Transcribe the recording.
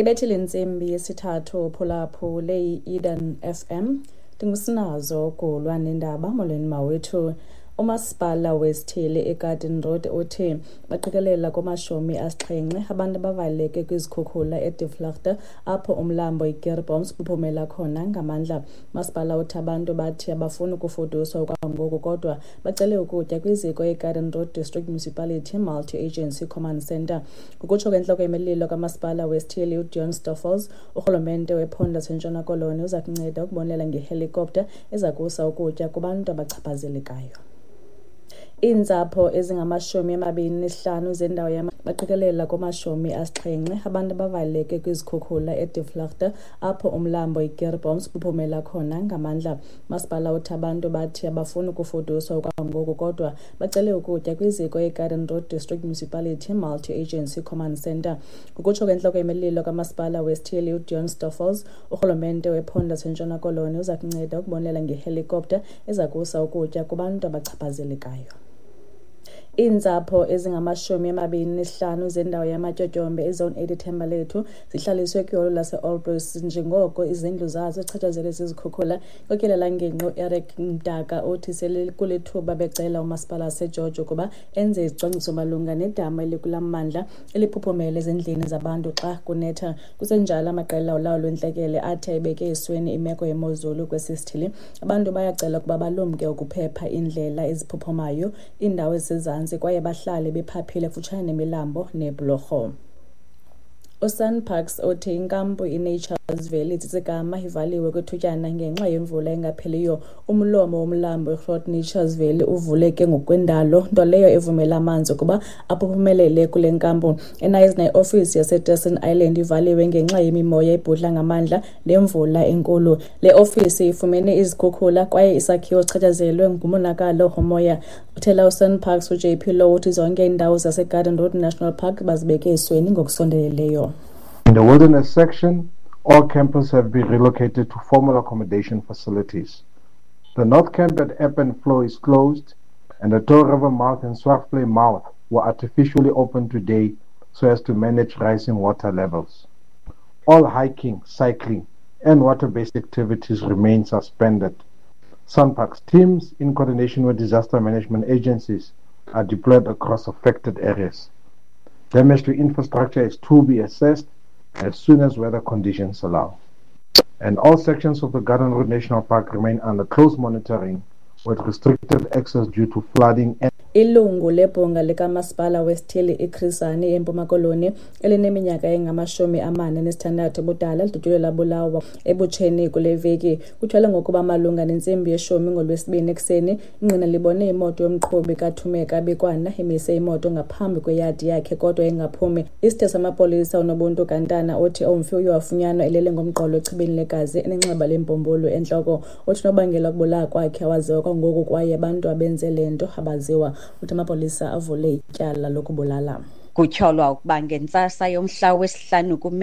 Ibethile intsimbi yesithathu phulaphule i-Eden FM. Ndingusinazo Gulwa nendaba. Molweni mawethu. Umasipala wesithili iGarden Road uthi baqikelela kuma-70 abantu abavaleleke kwizikhukhula eDe apho umlambo iKeurboom uphumela khona ngamandla. Umasipala uthi abantu bathi abafuni ukufuduswa okwangoku kodwa bacele ukutya kwiziko iGarden Road District Municipality Multi-Agency Command Centre. Ngokutsho kwentloko yemililo kamasipala wesithili uDion Stoffels, urhulumente wephondo laseNtshona Koloni uza kunceda ukubonelela ngehelikopta eza kusa ukutya kubantu abachaphazelekayo. Iintsapho ezingama-25 zendawo baqikelela kuma-70 abantu abavaleleke kwizikhukhula eDe apho umlambo iKeurboom uphumela khona ngamandla. Umasipala uthi abantu bathi abafuni ukufuduswa okwangoku kodwa bacele ukutya kwiziko iGarden Road District Municipality Multi-Agency Command Centre. Ngokutsho kwentloko yemililo kamasipala wesithili uDion Stoffels, urhulumente wephondo laseNtshona Koloni uza kunceda ukubonelela ngehelikopta eza kusa ukutya kubantu abachaphazelekayo. Iintsapho ezingama-25 zendawo yamatyotyombe iZone 8 eThembalethu zihlaliswe kwiholo lase-All njengoko izindlu zazo zichatshazelwe zizikhukhula. Inkokheli yalangingqi uEric Mdaka uthi sele kulithuba becela umasipala waseGeorge ukuba enze izicwangciso malunga nedama elikulaa mmandla eliphuphumela ezindlini zabantu xa kunetha. Kusenjalo, amaqela olawulo lwentlekele athi ayibeke esweni imeko yemozulu kwesi sithili. Abantu bayacela ukuba balumke ukuphepha iindlela eziphuphumayo, iindawo ezisezantsi kwaye bahlale bephaphile kufutshane nemilambo neebhulorho. USANParks uthi inkampu iNature's Valley Tsitsikamma ivaliwe kwithutyana ngenxa yemvula engapheliyo. Umlomo womlambo iGroot Nature's Valley uvuleke ngokwendalo, nto leyo evumela amanzi ukuba aphuphumelele kule nkampu. EKnysna, iofisi yaseTerson Island ivaliwe ngenxa yemimoya ebhudla ngamandla nemvula enkulu. Le ofisi ifumene izikhukhula kwaye isakhiwo sichatshazelwe ngumonakalo womoya. Uthela uSANParks uJP Louw uthi zonke iindawo zaseGarden Road National Park bazibeke esweni ngokusondeleleyo. In the wilderness section, all campers have been relocated to formal accommodation facilities. The North Camp at Ebb and Flow is closed, and the Touw River Mouth and Swartvlei Mouth were artificially opened today so as to manage rising water levels. All hiking, cycling, and water-based activities remain suspended. SANParks teams, in coordination with disaster management agencies, are deployed across affected areas. Damage to infrastructure is to be assessed as soon as weather conditions allow. And all sections of the Garden Road National Park remain under close monitoring with restricted access due to flooding and Ilungu lebhunga likamasipala wesithili iChris Hani eMpuma Koloni elineminyaka engama-46 ubudala lidutyulwe labulawa ebutsheni kule veki. Kutyholwa ngokuba malunga nentsimbi yeshumi ngoLwesibini ekuseni, ingqina libone imoto yomqhubi kaThumeka Bikwana imise imoto ngaphambi kweyadi yakhe kodwa ingaphumi. Isithethi samapolisa uNobuntu Gantana uthi umfi uye wafunyanwa elele ngomqolo echibini legazi enenxeba lembumbulu entloko. Uthi unobangela wokubulawa kwakhe awaziwa kwangoku kwaye abantu abenze le nto abaziwa. Uthi amapolisa avule ityala lokubulala. Kutyholwa ukuba ngentsasa yomhla wesihlanu kuMeyi.